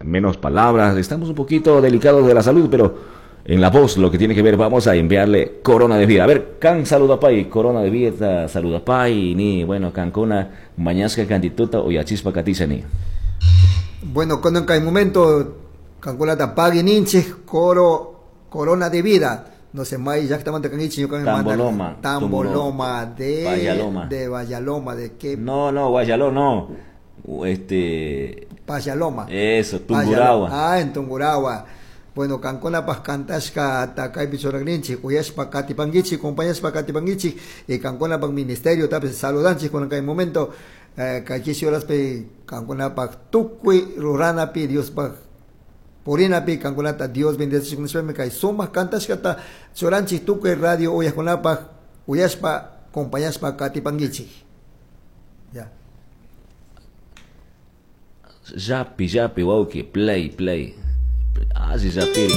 Menos palabras, estamos un poquito delicados de la salud, pero en la voz lo que tiene que ver, vamos a enviarle corona de vida. A ver, can saluda pay, corona de vida, saluda pay, ni, bueno, cancuna, mañasca cantituta o yachispa ni. Bueno, cuando en el momento, canculata pagui ninche, coro, corona de vida. No sé, may exactamente cangichi, Tamboloma. Tamboloma de Vallaloma. De Vallaloma, de qué. No, no, Guayaló no. Payaloma. Eso, Tungurahua. Ah, en Tungurahua. Bueno, kankunapas kantashka kaypi churaqninchik, uyashpa katipankichik, compañashpa katipankichik, y kankunapak ministerio tapis saludanchik kunan kay momento, kay chishi horaspi kankunapak tukuy ruranapi Diospaj purinapi kankunata Dios bendecishuk nishpami kay sumak kantashkata churanchik tukuy radio uyaqkunapaj uyashpa compañashpa katipankichik. Ya. Yapi, yapi, wawki, play, play. Así, yapiri.